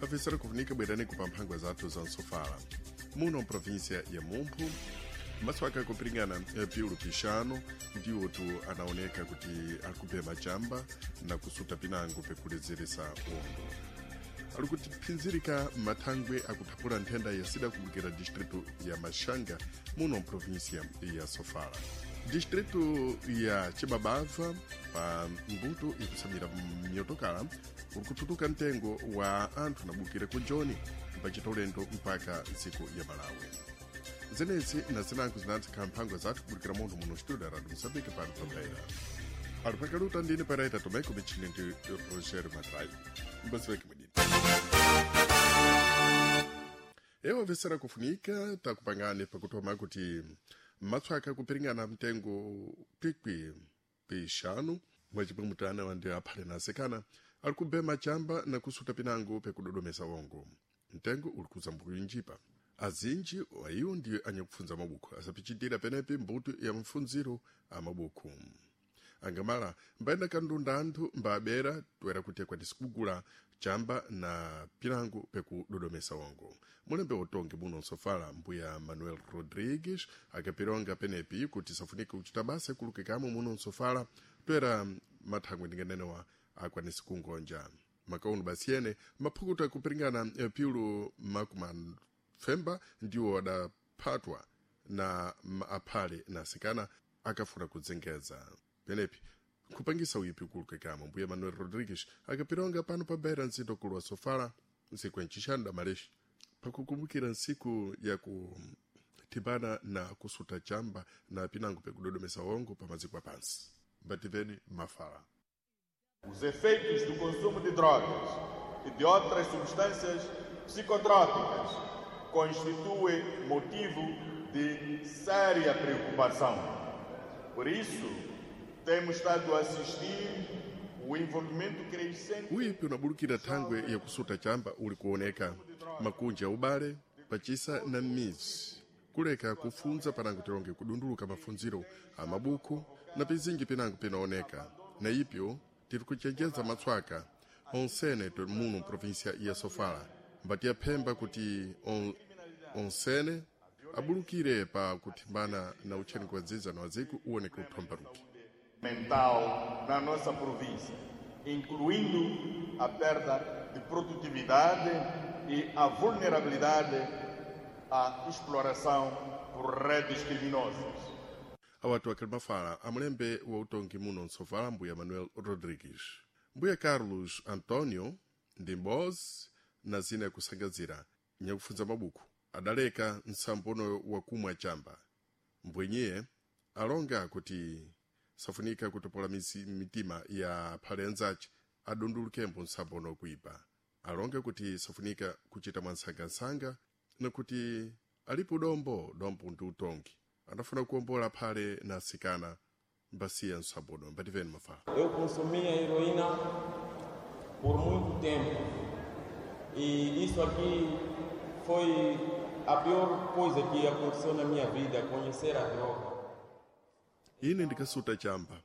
Afisera kufunika bwerani kupamphangwa zathu za nsofala muno mprovinsia ya Mumphu. Maswaka kupiringana piulu pixano ndiwo tu anaoneka kuti ali chamba na kusuta pinango pekulezeresa ongo. Ali kutiphinzirika mathangwe akuthapula nthenda ya sida kubukira distrito ya Machanga muno mprovinsia ya Sofala. Distrito ya Chibabava pa mbuto ikusamira myotokala uri kututuka mtengo wa anthu anabukira ku Joni mpachita ulendo mpaka dziko ya Malawi. Zenezi na zinango zinatsikhala mphangwa zathu kubukira munthu muno studio Radio Moçambique pano pa Ali pakaluta ndine Pereira Tomeko michini ndi Rogério Matrai. Mbasiveke mwidini. Ewa vesera kufunika takupangani pakutoma kuti matswaka kupiringana mtengo pikwi pixanu mwacipwe mutana wandi aphale na asikana ali kubema chamba na kusuta pinango pekudodomesa wongo. Mtengo uli kuzambukinjipa. Azinji waiwo ndiye anyakufunza mabuku asapichitira penepi mbuto ya mfunziro a mabuku. Angamala mbayenda kandunda anthu mbabera toera kuti akwanise kugula chamba na pinango pekudodomesa wongo. Mulembe utongi muno nsofala mbuya Manuel Rodrigues akapironga penepi kuti safunike kuchita basa kulukikamo muno nsofala toera mathangwe ndinganenewa akwanise kungonja. Makauno basiyene maphukuto akupiringana piulu makumafemba ndiwo adaphatwa na aphale na asikana akafuna kudzengeza penepi kupangisa uyipi kulukikamo. Mbuya Manuel Rodrigues akapironga pano pa beira nzito kulwa sofala nsiku yancixanu damalexi pakukumbukira nsiku ya kutibana na kusuta chamba na pinango pekudodomesa wongo pa maziko apansi. Mbativeni mafala. Os efeitos do consumo de drogas e de outras substâncias psicotrópicas constituem motivo de séria preocupação. Por isso, temos estado a assistir o envolvimento crescente. Uyipi unabulukira thangwe ya kusuta chamba uli kuoneka makunja ubale pachisa na m'mizi kuleka kufunza panango tilonge kudunduluka mafunziro a mabuku na pizinji pinango pinaoneka. Na ipyo tiri kuchenjeza matswaka onsene muno provinsia ya Sofala mbati yaphemba kuti onsene abulukire pa kuthimbana na utcheniko wa dzidza na wadziko uwoneke uthombaruki mental na nossa província, incluindo a perda de produtividade e a vulnerabilidade à exploração por redes criminosas. Awatu akhali mafala amulembe wa utongi muno nsofala mbuya Manuel Rodrigues. Mbuya Carlos Antonio ndi mbozi na zina yakusangazira nyakufunza mabuku adaleka nsambono wakumwa chamba. Mbwenyiye alonga kuti safunika kutopola mitima ya phale anzace adundulukembo nsambono kuipa. Alonga kuti safunika kuchita mwansangasanga na kuti alipo dombo dombo ndi utongi anafuna kuombola phale na asikana mbasiya nsambono. Mbativeni mafala. Eu consumia heroína por muito tempo e isso aqui foi a pior coisa que aconteceu na minha vida, conhecer a droga. Ine ndikasuta chamba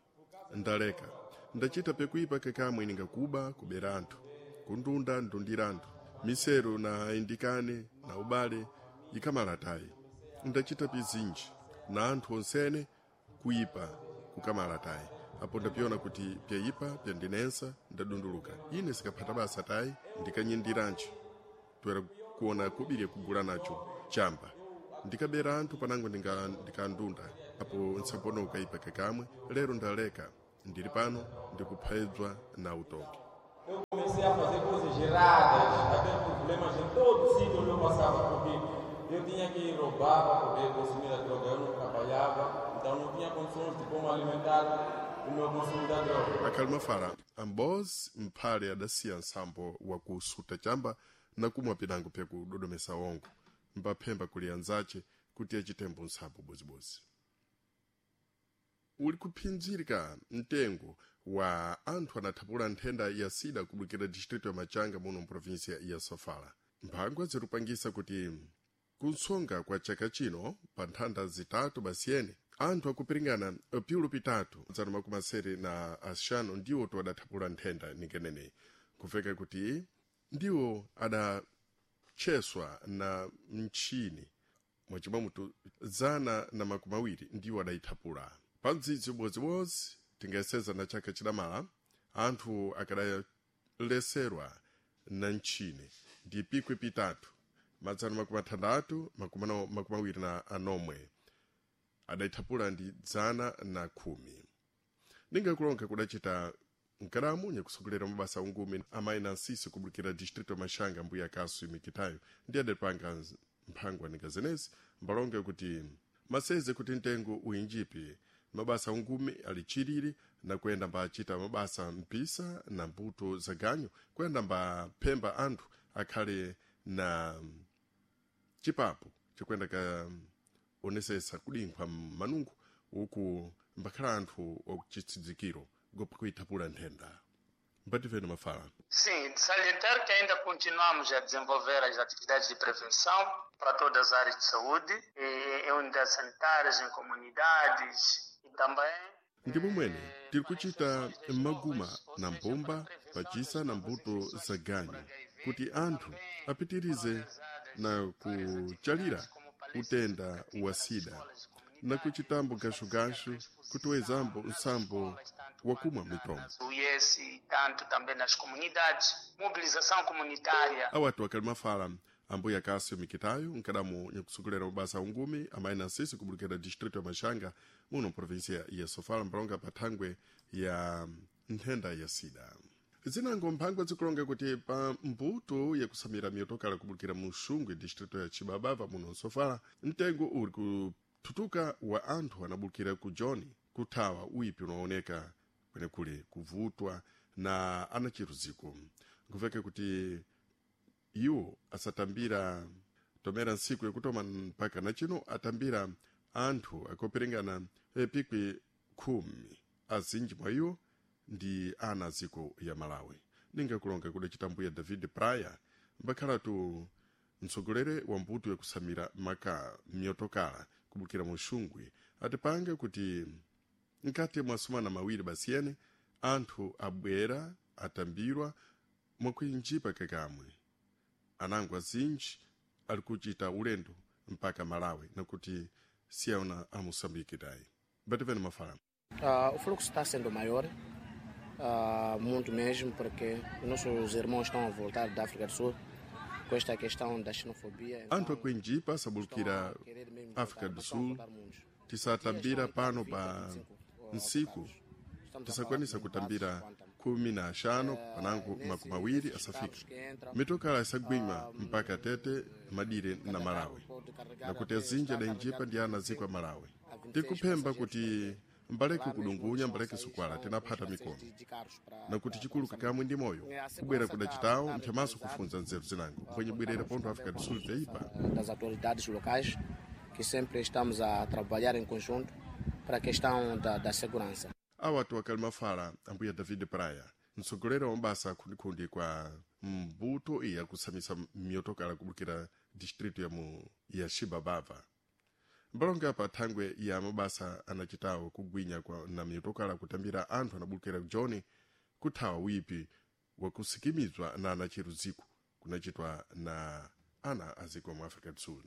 ndaleka ndachita pekuipa kakamwe ningakuba kubera anthu kundunda ndundira anthu misero na indikane na ubale ikamalatayi ndachita pizinji na anthu onsene kuipa kukamalatayi apo ndapiona kuti pyayipa pyandinensa ndadunduluka. Ine sikaphata basa tayi ndikanyindiranji toera kuona kubiri kugula nacho chamba ndikabera anthu panango ndikandunda apo nsambono ukaipa kakamwe. Lero ndaleka ndili pano ndikuphedzwa na utongi. Eu comecei a fazer coisas erradas, a ter problemas em todo sítio onde eu passava, porque eu tinha que roubar para poder consumir a droga. Eu não trabalhava, então não tinha condições de como alimentar o meu consumo da droga. Akhali mafala ambozi mphale adasiya nsambo wakusuta chamba na kumwa pinango pyakudodomesa wongo mbaphemba kuli anzace kuti achitembo nsambo bozibozi. Uli kuphinzirika mtengo wa anthu anathapula nthenda ya sida kubukira distrito ya Machanga muno mprovinsia ya Sofala. Mphangwa zirupangisa kuti kunsonga kwa chaka chino pa nthanda zitatu basiyene anthu akupiringana piulu pitatu zana makumi asere na axanu ndiwo to adathapula nthenda ningeneneyi kufeka kuti Ndiwo adacheswa na mchini mwachimamutu 120 ndiwo adayithapula pa mdzidzi ubodzibodzi. Tingaseza na chaka chidamala anthu akadaleserwa na mchini ndi pikwi pitatu 629 adayithapula ndi 110. Ningakulonga kudachita nkalamu nyakusogolera mabasa ungumi amayi na nsisi kubulukira distrito Mashanga, mbuya Kasu Mikitayo, ndi adapanga mphangwa ninga zenezi mbalonge kuti maseze kuti mtengo uyinjipi mabasa ungumi ali chilili na kuyenda mbachita mabasa mpisa na mbuto za ganyu kuyenda mbaphemba anthu akhale na chipapo chikuyenda ka onesesa kudinkhwa manungu uku mbakhala anthu wakuchitsidzikiro gopa kuithapula nthenda. Mbativeni mafala. Sim, de salientar que ainda continuamos a desenvolver as atividades de prevenção para todas as áreas de saúde, em unidades sanitárias, em comunidades e também. Ndi momwene tiri kuchita maguma na mbumba pachisa na mbuto za ganyu kuti anthu apitirize na kuchalira utenda wa sida na kuchitambo gashugashu kutiwezambo nsambo wakumwa mitombo. O tanto também nas comunidades, mobilização comunitária. Awatu akali mafala ambuya Kasio Mikitayo, nkadamu nyakusogolera mabasa ungumi amayi na nsisi kubulukira distrito ya Mashanga muno provinsia ya Sofala, mbalonga pathangwe ya nthenda ya sida. Zinango mphangwa zikulonga kuti pa mbuto yakusamira miyotokala kubulukira mu Xungwe, distrito ya Chibabava muno Sofala, mtengo uli kuthutuka wa anthu anabulukira ku Joni kuthawa uyipi unaoneka kwenekule kuvutwa na anachiruziko. Nkuveka kuti iwo asatambira tomera ntsiku yakutoma mpaka na chino atambira anthu akoperengana pikwi 10, azinji mwa iwo ndi ana aziko ya Malawi. Ningakulonga kudacita mbuya David Pryor, mbakhalatu mtsogolere wa mbuto yakusamira maka myotokala kubukira mu Xungwe, atipanga kuti nkati mwa sumana mawiri basiyene anthu abwera atambirwa mwakuinjipa kakamwe anango azinji ali kuchita ulendo mpaka Malawi nakuti siyaona a Moçambique tayi. Mbativeni mafala. O fluxo está sendo maior, muito mesmo, porque nossos irmãos estão a voltar da África do Sul com esta questão da xenofobia. Anthu akuinjipa asabulukira África do Sul tisatambira pano pa ntsiku tisakwanisa kutambira 15 panango 20 asafika. Mitokala isagwinywa mpaka Tete, madire na Malawi, nakuti azinji adainjipa ndi ana aziko a Malawi. Tikuphemba kuti mbaleke kudungunya, mbaleke sukwala, tinaphata mikono nakuti chikulu kakamwe ndi moyo kubwera kudacitawo nthemaso kufunza nzeru zinango mpwenye bwerera pontho África do Sul teipa. Das autoridades locais, que sempre estamos a trabalhar em conjunto para a questão da segurança. Awatu akali mafala ambuya David Praya, mtsogolera wa mabasa akhundikhundi kwa mbuto iya kusamisa miyotokala kubukira distrito ya mu ya Xibabava, mbalonga pa thangwe ya mabasa anachitawo kugwinya kwa na miyotokala kutambira anthu anabulukira Joni kuthawa wipi wakusikimizwa na anachiruziko kunachitwa na ana aziko mu África do Sul.